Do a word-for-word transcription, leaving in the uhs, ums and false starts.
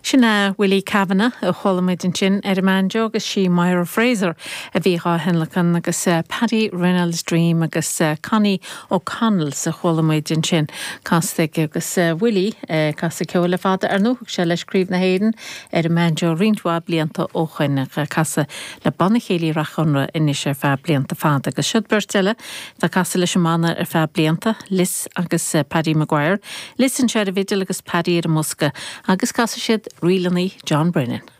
Sin é Willie Kavanagh a chuala muid ansin ar an mbanjo agus sí Myra Fraser a bhí á thionlacan agus uh, Paddy Reynolds Dream agus uh, Connie O'Connell sa chuala muid ansin casta agus uh, Willie uh, casadh ceol le fada ar ndóigh sé leis Craobh na hÉireann ar an mbanjo roinnt mhaith blianta ó shin casadh le Banna Céilí Rath Chonradh anois ar feadh blianta fada agus siod beirt eile tá casadh leis an mbanna ar feadh blianta Liz agus uh, Paddy Maguire. Liz anseo ar an bhfidil agus Paddy ar an mbosca agus casfaidh siad ríleanna John Brennan.